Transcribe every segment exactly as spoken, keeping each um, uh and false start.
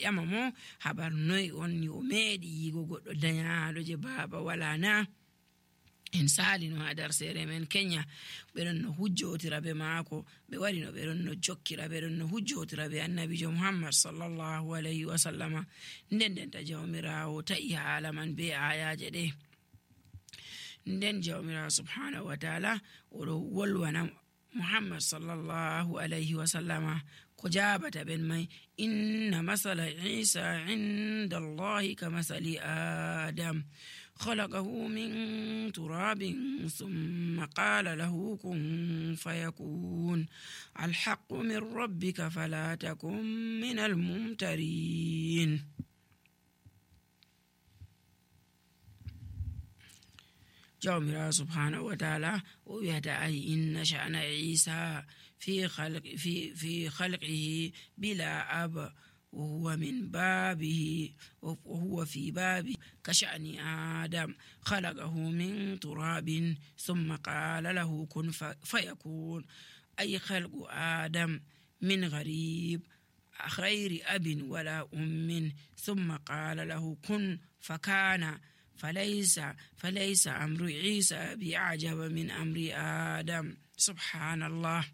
ƴama mo habar noy on yo meedi yigo goɗɗo dañaaɗo je baaba wala na. En salino ha dar sere men Kenya ɓeɗon no hujjotira be maako ɓe wari no ɓeɗon no jokkira ɓeɗon no hujjotira be annabijo Muhammad sallallahu alayhi wa sallama. nden nden ta jawmirawo ta'i haala man be ayaje ɗe. nden jawmirawo subhanahu wa ta'ala oɗo wolwana Muhammad sallallahu alayhi wa sallama ko jabata ben mai inna masala Isa inda Allahi ka masali Adam خلقه من تراب ثم قال له كن فيكون الحق من ربك فلا تكن من الممترين. جاء سبحانه وتعالى ويدعي إن شأن عيسى في خلق في في خلقه بلا أب وهو من بابه وهو في بابه كشأن آدم خلقه من تراب ثم قال له كن فيكون أي خلق آدم من غريب غير أب ولا أم ثم قال له كن فكان فليس فليس أمر عيسى بأعجب من أمر آدم. سبحان الله.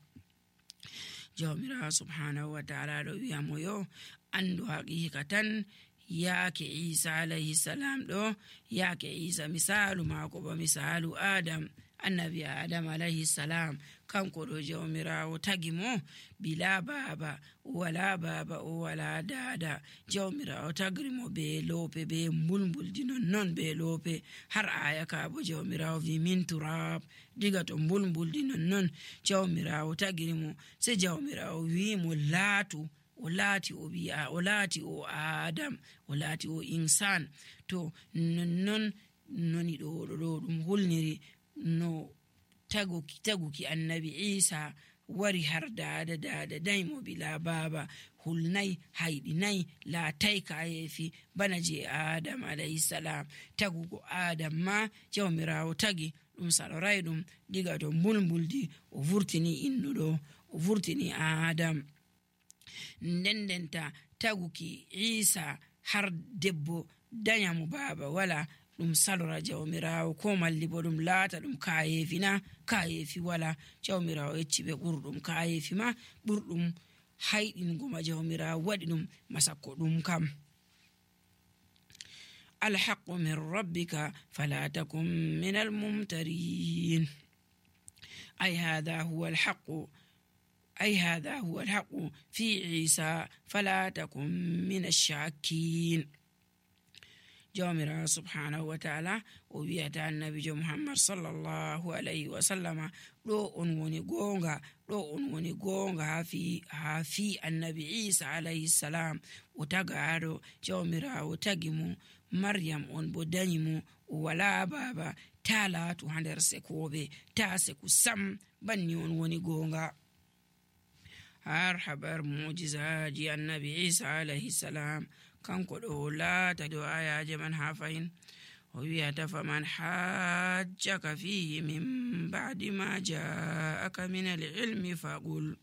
jawmirawo subhanahu wa ta'ala ɗo wiyamo yo andu haqiqa tan yaake Isa alayhi salam ɗo yaake Isa misalu maako ba misalu Adam annabi Adam alayhi salam kanko ɗo jawmirawo tagi mo bila baba wala baba o wala dada. jawmirawo tagri mo be lope be mbulmbuldi non non be lope har aya ka bo jawmirawo wi min turab diga to mbulmbuldi non non jawmirawo tagri mo se jawmirawo wi mo laatu o laati o bi'a o laati o Adam o laati o insan. to non non noni ɗo ɗo ɗum hulniri no taguki taguki annabi Isa wari har dada dada daymo bila baba hulnai hayɗinai laatay kayefi bana je Adam alayhi salam. tagugo Adam ma jawmirawo tagi ɗum saloray ɗum diga to mbulmbuldi o vurtini innuɗo o vurtini Adam. nden ndenta taguki Isa har debbo danyamo baba wala ɗum salora jawmirawo ko malli bo ɗum laata ɗum kayefi na kayefi wala. jawmirawo yecci ɓe ɓurɗum kayefi ma ɓurɗum hayɗingo ma jawmirawo waɗi ɗum masakko ɗum kam. alhaqqu min rabbika fala takun min almumtarin ay hadha huwa alhaqqu أي هذا هو الحق في عيسى فلا تكن من الشاكين. jawmirawo subhanahu wa ta'ala o wiyata annabijo Muhammad sallallahu alayhi wa sallama ɗo on woni gonga ɗo on woni gonga ha fi ha fi annabi Isa alayhi salam o tagaɗo jawmirawo tagi mo Maryam on bo dañi mo o wala baba ta laatu ha nder sekoɓe ta seku sam banni on woni gonga. har habar mu'jizaji annabi Isa alayhi salam kanko ɗo laata do ayaje man ha fayin o wiyata faman hajjaka fihi min ba'di ma ja'aka min al-ilmi faqul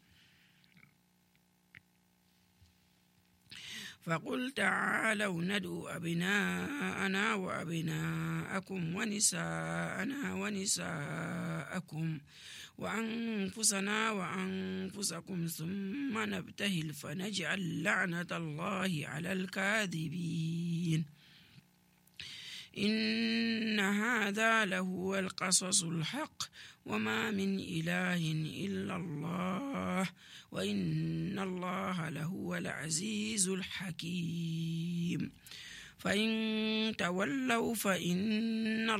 فقل تعالوا ندعو أبناءنا وأبناءكم ونساءنا ونساءكم وأنفسنا وأنفسكم ثم نبتهل فنجعل لعنة الله على الكاذبين إن هذا لهو القصص الحق وما من إله إلا الله وإن الله لهو العزيز الحكيم فإن تولوا فإن